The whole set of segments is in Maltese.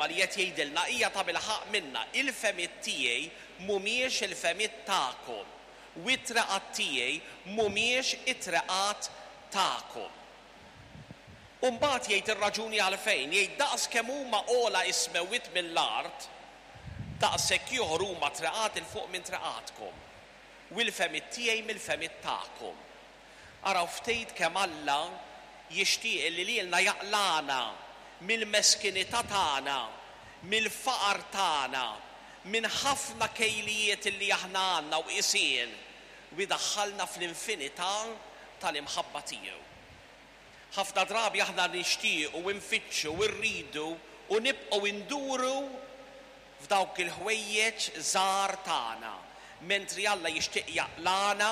il-kelma li qed jgħidilna hija tabilħaqq minnha, Il-fehmiet tiegħi mhumiex il-fehmiet tagħkom, u t-treqat tiegħi mhumiex it-treqat tagħkom. U mbagħad jgħid ir-raġuni għalfejn, jgħid daqs kemm huma ogħla s-smewwiet mill-art, daqshekk ieħor huma treqati 'l fuq minn treqatkom, u l-fehmiet tiegħi mill-fehmiet tagħkom. Araw ftit kemm Alla jixtieq li lilna jaqlagħna mill-meskinità tagħna, mill-faqar tagħna, minn ħafna kejlijiet li aħna għandna u qisien, u jdaħħalna fl-infinità tal-imħabba tiegħu. Ħafna drabi aħna nixtiequ, infittxu, irridu u nibqgħu nduru f'dawk il-ħwejjeġ żgħar tagħna, mentri Alla jixtieq jaqlagħna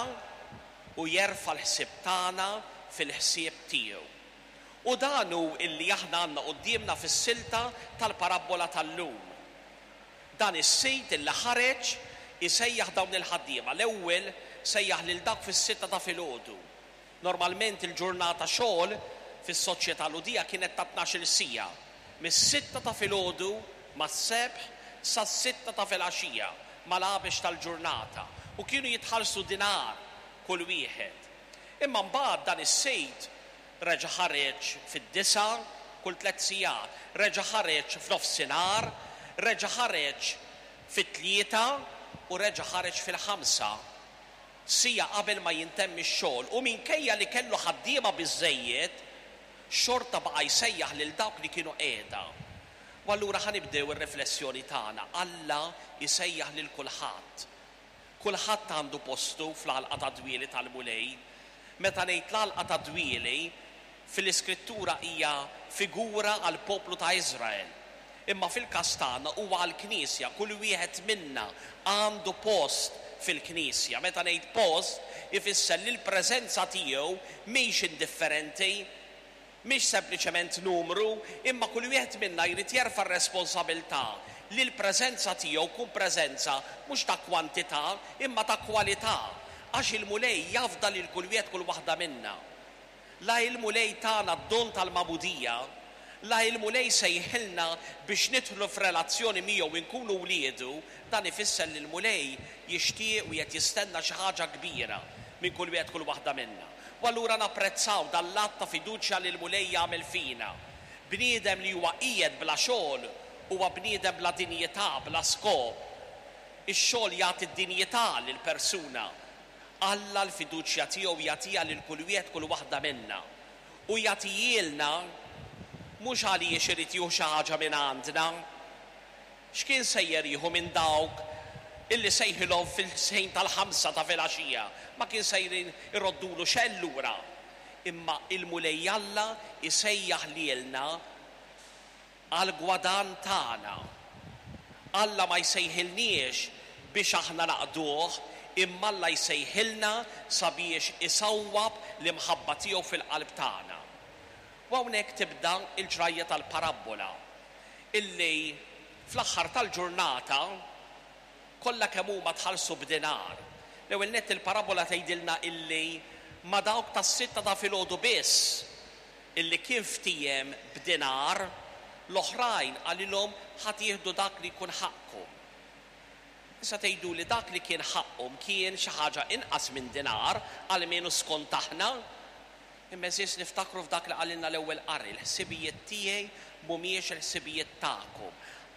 u jerfa' l-ħsieb tagħna fil-ħsieb tiegħu. U dan hu illi aħna għandna quddiemna fis-silta tal-parabbola tal-lum. Dan is-sid illi ħareġ isejjaħ dawn il-ħaddiema. L-ewwel sejjaħ lil dawk fis-sitta ta' filgħodu. Normalment il-ġurnata xogħol fis-soċjetà Lhudija kienet ta' tnax-il siegħa, mis-sitta ta' filgħodu mas-sebħ sas-sitta ta' filgħaxija mal-għabex tal-ġurnata, u kienu jitħallsu dinar kull wieħed. Imma mbagħad dan is-sid reġa' ħareġ fid-disgħa kull tliet sigħat, reġa' ħareġ f'nofsinhar, reġa' ħareġ fit-tlieta u reġa' ħareġ fil-ħamsa. Siegħa qabel ma jintemm ix-xogħol u minkejja li kellu ħaddiema biżżejjed, xorta baqa' jsejjaħ lil dawk li kienu qiegħda. U allura ħa nibdew ir-riflessjoni tagħna. Alla jsejjaħ lil kulħadd. Kulħadd għandu postu fl-għalqa tad-dwieli tal-Mulej. Meta ngħid l-għalqa tad-dwieli, fil-Iskrittura hija figura għall-poplu ta' Iżrael. Imma fil-każ tagħna huwa għall-Knisja, kull wieħed minna għandu post fil-Knisja. Meta ngħid post, ifisser li l-preżenza tiegħu mhix indifferenti, mhix sempliċement numru, imma kull wieħed minna jrid jerfa' r-responsabilità li l-preżenza tiegħu tkun preżenza mhux ta' kwantità imma ta' kwalità, għax il-Mulej jafda lil kull wieħed kull waħda minna. La il-Mulej tana d-don tal-magħmudija, la il-Mulej sejħilna biex nidħlu f'relazzjoni miegħu u nkunu wliedu, dan ifisser li l-Mulej jixtieq u qed jistenna xi ħaġa kbira minn kull wieħed kull waħda minna. U allura napprezzaw dan l-att ta' fiduċja li l-Mulej jagħmel fina. Bniedem li huwa qiegħed bla xogħol huwa bniedem bla dinjità, bla skop. Ix-xogħol jagħti d-dinjità lill-persuna. Alla l-fiduċja tiegħu jagħtiha lil kull wieħed kull waħda minna. U jagħtihielna mhux għaliex irid jieħu xi ħaġa minn għandna. X'kien sejjer jieħu minn dawk illi sejħilhom fil-ħin tal-ħamsa ta' filgħaxija? Ma kien sejrin iroddulu xejn lura. Imma il-Mulej Alla jsejjaħ lilna għall-gwadann tagħna. Alla ma jsejħilniex biex aħna naqduh, imma Alla jsejħilna sabiex isawwab l-imħabba tiegħu fil-qalb tagħna. U hawnhekk tibda l-ġrajja tal-parabbola, illi fl-aħħar tal-ġurnata kollha kemm huma tħallsu b'dinar. L-ewwel nett il-parabbola tgħidilna illi ma' dawk tas-sitta ta' filgħodu biss illi kien ftiehem b'dinar, l-oħrajn qalilhom ħa tieħdu dak li jkun ħaqqkom. Issa tgħiduli dak li kien ħaqqhom kien xi ħaġa inqas minn dinar, almenu skont aħna. Imma għeżież niftakru f'dak li qalilna l-ewwel qari, l-ħsibijiet tiegħi mhumiex il-ħsibijiet tagħkom.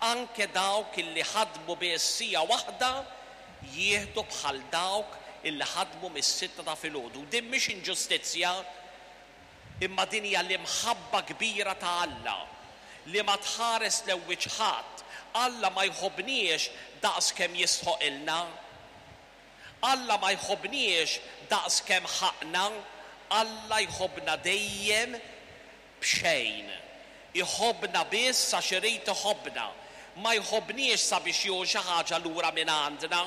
Anke dawk illi ħadmu biss siegħa waħda jieħdu bħal dawk illi ħadmu mis-sitta ta' filgħodu. U din mhix inġustizzja. Imma din hija l-imħabba kbira ta' Alla, li ma tħares lejn wiċċ ħadd. Alla ma jħobbniex daqs kemm jistħoqilna. Alla ma jħobbniex daqs kemm ħaqqna. Alla jħobbna dejjem b'xejn. Iħobbna biss għax irid iħobbna. Ma jħobbniex sabiex jieħu xi ħaġa lura mingħandna.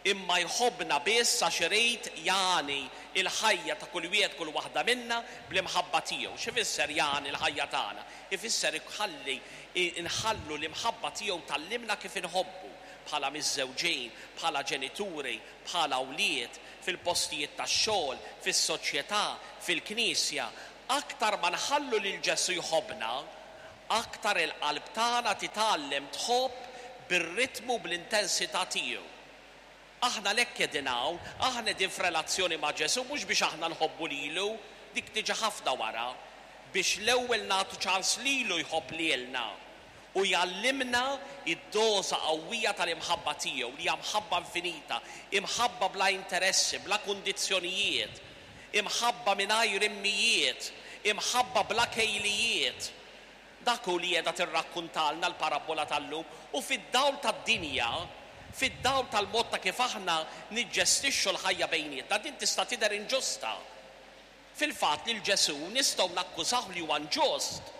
Imma jħobbna biss għax irid jagħni l-ħajja ta' kull wieħed kull waħda minna bl-imħabba tiegħu. X'ifisser jagħni l-ħajja tagħna? Ifisser iħalli nħallu l-imħabba tiegħu tgħallimna kif inħobbu, bħala miżżewġin, bħala ġenituri, bħala wlied, fil-postijiet tax-xogħol, fis-soċjetà, fil-knisja. Aktar ma nħallu lil Ġesù jħobbna, aktar il-qalb tagħna titgħallem tħobb bir-ritmu u bl-intensità tiegħu. Aħna għalhekk qegħdin hawn, aħna qegħdin f'relazzjoni ma' Ġesù mhux biex aħna nħobbu lilu, dik tiġi ħafna wara, biex l-ewwel nagħtu ċans lilu jħobb lilna u jgħallimna d-doża qawwija tal-imħabba tiegħu li hija mħabba infinita, imħabba bla interessi, bla kundizzjonijiet, imħabba mingħajr immijiet, imħabba bla kejlijiet. Dak hu li qiegħda tirrakkuntalna l-parabbola tal-lum u fid-dawl tad-dinja, fid-dawl tal-mod ta' kif aħna niġġestixxu l-ħajja bejnietna, din tista' tidher inġusta. Fil-fatt lil Ġesù nistgħu nakkużawh li huwa inġust,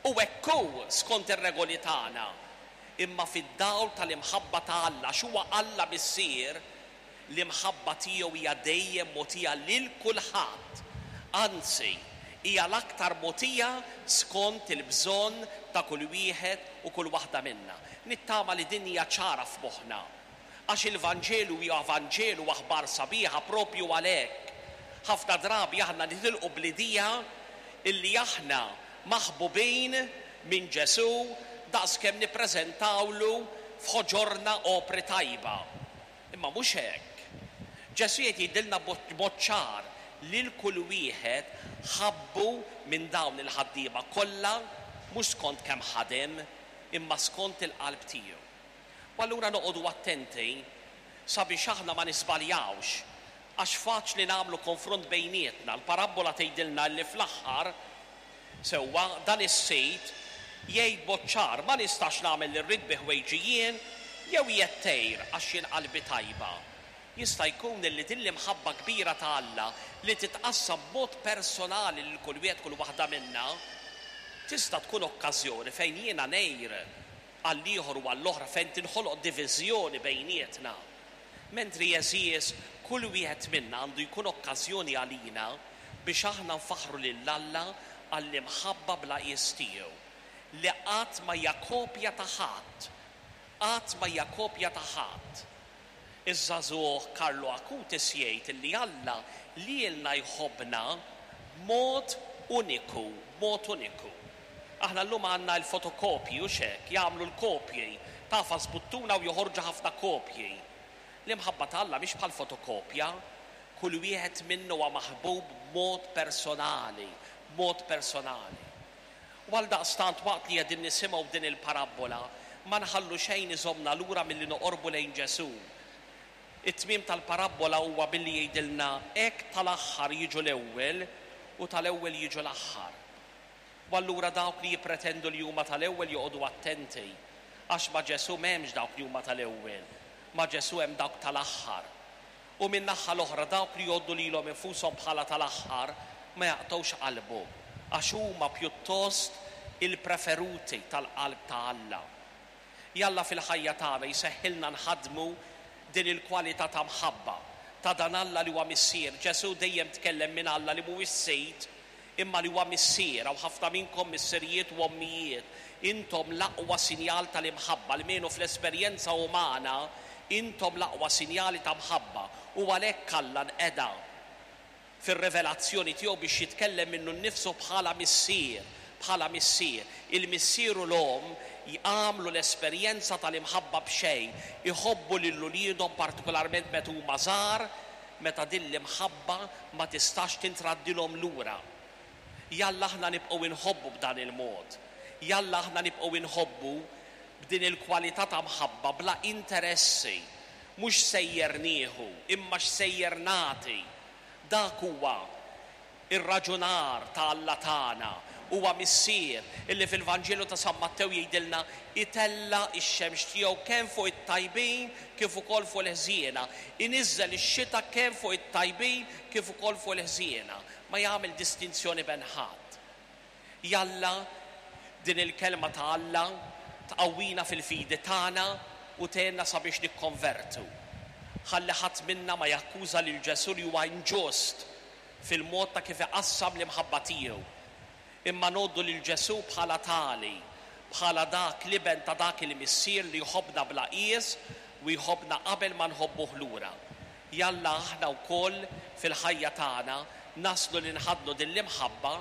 u hekk hu skont ir-regoli tagħna. Imma fid-dawl tal-imħabba ta' Alla, għax huwa Alla Missier, L-imħabba tiegħu hija dejjem mogħtija lil kulħadd, anzi, hija l-aktar mogħtija skont il-bżonn ta' kull wieħed u kull waħda minna. Nittama li din hija ċara f'moħħna, għax il-Vanġelu huwa Vanġelu u aħbar sabiħa proprju għalhekk. Ħafna drabi aħna nitilqu bl-idea illi aħna maħbubin minn Ġesù daqskemm nippreżentawlu f'ħoġorna opri tajba. Imma mhux hekk. Ġesù qed jgħidilna b'mod ċar lil kull wieħed ħabbu minn dawn il-ħaddiema kollha mhux skont kemm ħadem imma skont il-qalb tiegħu. U allura noqogħdu attenti sabiex aħna ma niżbaljawx għax faċli nagħmlu konfront bejnietna. L-parabbola tgħidilna li fl-aħħar Sewwa, dan is-sid jgħid b'mod ċar, ma nistax nagħmel li rrid bi ħwejġi jien, jew qiegħed tgħir għax jien qalbi tajba? Jista' jkun illi din l-imħabba kbira ta' Alla li titqassam b'mod personali lil kull wieħed kull waħda minna, tista' tkun okkażjoni fejn jiena ngħir għall-ieħor u għall-oħra fejn tinħoloq diviżjoni bejnietna. Mentri għeżież, kull wieħed minna għandu jkun okkażjoni għalina biex aħna nfaħħru lil Alla għall-imħabba bla qies tiegħu, li qatt ma hija kopja ta' ħadd, qatt ma hija kopja ta' ħadd. Iż-żagħżugħ Carlo Acutis jgħid li Alla lilna jħobbna b'mod uniku, b'mod uniku. Aħna llum għandna l-fotokopji, hux hekk? Jagħmlu l-kopji. Tagħfas buttuna u joħorġu ħafna kopji. L-imħabba ta' Alla mhix bħal fotokopja. Kull wieħed minna huwa maħbub b'mod personali, b'mod personali. U għaldaqstant waqt li qegħdin nisimgħu din il-parabbola, ma nħallu xejn iżommna lura milli noqorbu lejn Ġesù. It-tmiem tal-parabbola huwa billi jgħidilna hekk tal-aħħar jiġu l-ewwel u tal-ewwel jiġu l-aħħar. U allura dawk li jippretendu li huma tal-ewwel joqogħdu attenti, għax ma' Ġesù m'hemmx dawk li huma tal-ewwel, ma' Ġesù hemm dawk tal-aħħar. U min-naħa l-oħra dawk li jgħoddu lilhom infushom bħala tal-aħħar ma jaqtgħux qalbhom, għax huma pjuttost il-preferuti tal-qalb ta' Alla. Jalla fil-ħajja tagħna jseħħilna nħaddmu din il-kwalità ta' mħabba ta' dan Alla li huwa Missier. Ġesù dejjem tkellem minn Alla li mhuwiex Sid, imma li huwa Missier. Hawn ħafna minnkom missirijiet u ommijiet. Intom l-aqwa sinjal tal-imħabba, almenu fl-esperjenza umana, intom l-aqwa sinjali ta' mħabba. U għalhekk Alla nqeda fir-rivelazzjoni tiegħu biex jitkellem minnu nnifsu bħala Missier, bħala Missier. Il-missier u l-omm jagħmlu l-esperjenza tal-imħabba b'xejn, iħobbu lil uliedhom partikolarment meta huma żgħar, meta din l-imħabba ma tistax tintraddilhom lura. Jalla aħna nibqgħu inħobbu b'dan il-mod. Jalla aħna nibqgħu inħobbu b'din il-kwalità ta' mħabba bla interessi, mhux x'sejjer nieħu, imma x'sejjer nagħti. Dak huwa r-raġunar ta' Alla tagħna. Huwa Missier illi fil-Vanġelu ta' San Mattew jgħidilna itella' x-xemx tiegħu kemm fuq it-tajbin kif ukoll fuq il-ħżiena, iniżżel ix-xita kemm fuq it-tajbin kif ukoll fuq il-ħżiena. Ma jagħmel distinzjoni bejn ħadd. Jalla din il-Kelma ta' Alla tqawwina fil-fidi tagħna u tgħinna sabiex nikkonvertu. Ħalli ħadd minna ma jakkuża lil Ġesù li huwa inġust fil-mod ta' kif iqassam l-imħabba tiegħu. Imma ngħoddu lil Ġesù bħala tali, bħala dak l-Iben ta' dak il-Missier li jħobbna bla qies u jħobbna qabel ma nħobbuh lura. Jalla aħna wkoll fil-ħajja tagħna naslu li nħaddnu din l-imħabba.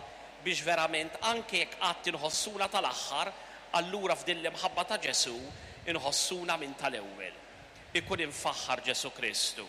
biex verament anke jekk qatt inħossuna tal-aħħar, allura f'din l-imħabba ta' Ġesù inħossuna minn tal-ewwel. Ikun imfaħħar Ġesù Kristu.